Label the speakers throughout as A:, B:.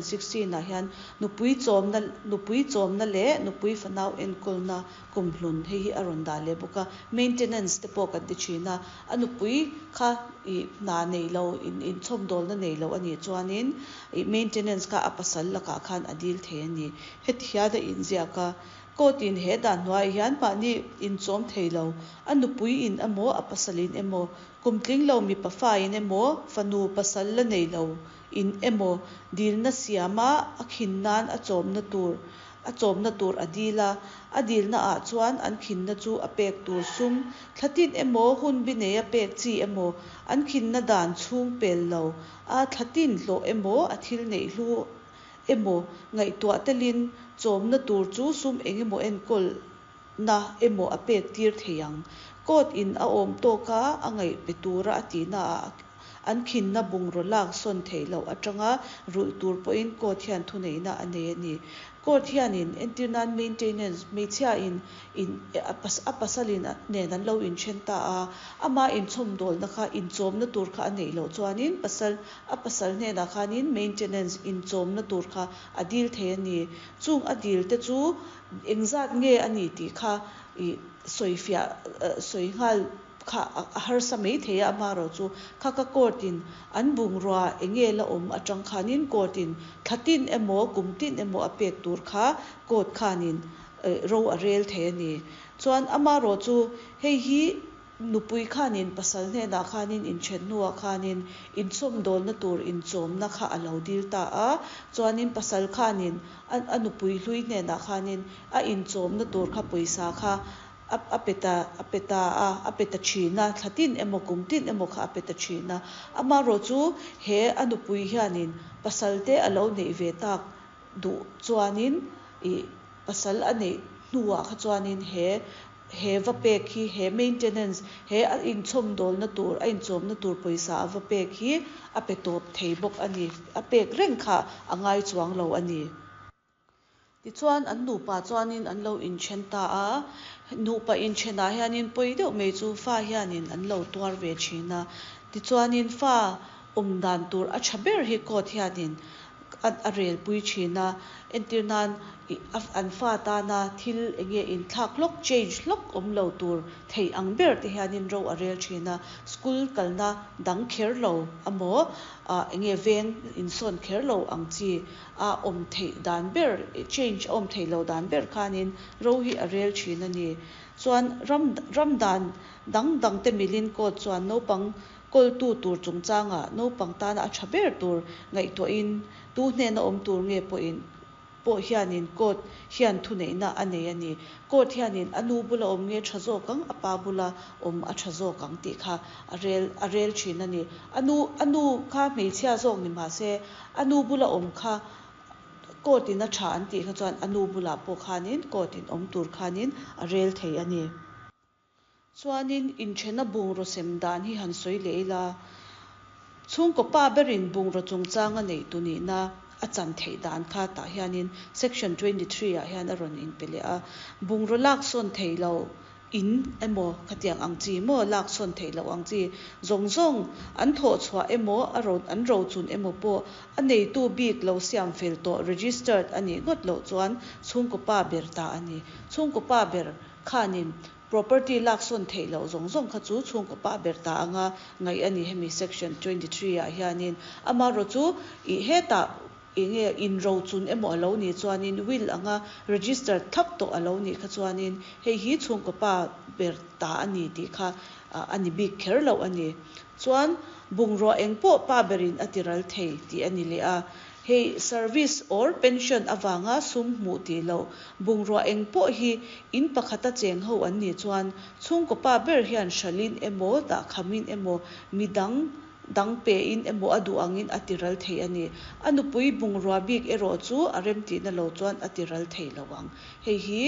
A: 16 ah hian nupui chawmna nupui chawmna leh nupui fanau enkawlna kumhlun hei hi a rawn dah leh bawk a. Maintenance te pawh kan ti thin a, a nupui kha ih hna nei lo in inchhawmdawlna nei lo a nih chuanin ih maintenance kha a pasal lakah khan a dil thei a ni. Heti hian a inziak a, Court in he dan hnuaiah hian mahni inchawm thei lo, a nupui in emaw a pasal in emaw, kum tling lo mipa fa in emaw, fanu pasal la nei lo in emaw dilna siama a khin nan a chawmna tur a chawmna tur a dil a, a dilna ah chuan an khinna chu a pek tur sum thla tin emaw hunbi neia pek chi emaw an khinna dan chhung pel lo a thla tin hlawh emaw a thil neih hlu emaw ngaihtuah telin chawmna tur chu sum engemaw enkawlna emaw a pek tir thei ang. Court in a awm tawka a ngaih pe tura a tihna ah an khinna bungraw lak sawn theih loh atanga rulh tur pawhin court hian thuneihna a nei a ni. Court hianin entir nan maintenance hmeichhia in in a pasal in nen an lo inthen ta a, ama inchhawmdawlna kha inchawmna tur kha a neih loh chuanin pasal A pasal hnenah khanin maintenance inchawmna tur kha a dil thei a ni. Chung a dil te chu engzat nge a ni tih kha ih sawifiah sawi nghal kha a harsa mai thei a, amaherawh chu kha ka court in an bungrua enge la awm atang khanin court in thla tin emaw kum tin emaw a pek tur kha court khanin ro a rel thei a ni. Chuan amaherawh chu hei hi Nupui khanin pasal hnenah khanin inthen hnuah khanin inchawmdawlna tur inchawmna kha a lo dil ta a, chuanin pasal khanin a a nupui hlui hnenah khanin a inchawmna tur kha pawisa kha a a pe ta a pe ta a, a pe ta thin a, thla tin emaw kum tin emaw kha a pe ta thin a. Amaherawhchu he a nupui hianin pasal te a lo neih ve tak duh chuanin ih pasal a neih hnuah kha chuanin he he va pek hi he maintenance he a inchhawmdawlna tur a inchawmna tur pawisa a va pek hi a pe tawp thei bawk a ni. A pek reng kha a ngai chuang lo a ni. Tichuan an nupa chuanin an lo inthen ta a, nupa inthenah hianin pawi deuh mai chu fa hianin an lo tuar ve thin a. Tichuanin fa awm dan tur a tha ber hi court hianin a rel pui thin a, entir nan ih an fa tana thil eng nge inthlak hlawk, change hlawk awm lo tur theih ang ber te hianin ro a rel thin a, school kalna dang kher lo amaw ah eng nge veng insawn kher lo ang chi a awm theih dan ber, change a awm theih loh dan ber khanin ro hi a rel thin a ni. Chuan ram ram dan dang dang te milin court chuan naupang Kawltu tur chungchangah naupang tana a tha ber tur ngaihtuahin tu hnena awm tur nge pawhin pawh hianin court hian thuneihna a nei a ni. Court hianin a nu bula awm nge tha zawk ang, a pa bula awm a tha zawk ang tih kha a rel a rel thin a ni. A nu a nu kha hmeichhia zawk ni mahse a nu bula awm kha court in a tha an tih kha chuan a nu bulah pawh khanin court in awm tur khanin a rel thei a ni. Chuanin inthena bungraw sem dan hi han sawi leh ila, chhungkaw pa berin bungraw chungchang a neih tu nihna a chan theih dan kha tah hianin section 23 ah hian a rawn inpe leh a. Bungraw lak sawn theih loh in emaw khatiang ang chi maw lak sawn theih loh ang chi zawng zawng an thawh chhuah emaw a ro an rochun emaw pawh a neitu bik lo siam fel tawh registered a nih ngawt loh chuan chhungkaw pa ber ta a ni. Chhungkaw pa ber khanin Property lak sawn theih loh zawng zawng kha chu chhungkaw pa ber ta anga ngaih a ni hemi section 23 ah hianin. Amaherawh chu ih hetah eng nge inrochun emaw a lo nih chuanin will anga register thlap tawh a lo nih kha chuanin hei hi chhungkaw pa ber ta a ni tih kha a ni bik kher loh a ni. Chuan bungrua eng pawh pa berin a tiral thei tih a ni leh a. Hei service or pension avanga sum hmuh tih loh bungrua eng pawh hi in pakhata cheng ho an nih chuan chhungkaw pa ber hian hralhin emaw dahkhamin emaw midang dang pein emaw a duh angin a tiral thei a ni. A nupui bungrua bik erawh chu a remtihna lo chuan a tiral thei lo ang. Hei hi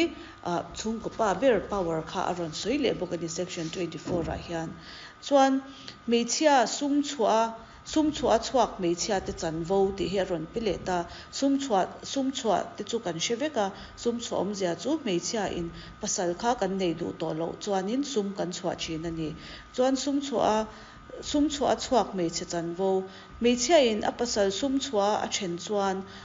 A: chhungkaw pa ber power kha a rawn sawi leh bawk a ni section 24 ah hian. Chuan hmeichhia sum chhuah a Sum chhuah a chhuak hmeichhia te chanvo tih hi a rawn pe leh ta. Sum chhuah, sum chhuah te chu kan hre vek a, sum chhuah awmzia chu hmeichhia in pasal kha kan nei duh tawh loh chuanin sum kan chhuah thin a ni. Chuan sum chhuah a, sum chhuah a chhuak hmeichhe chanvo, hmeichhia in a pasal sum chhuah a a then chuan.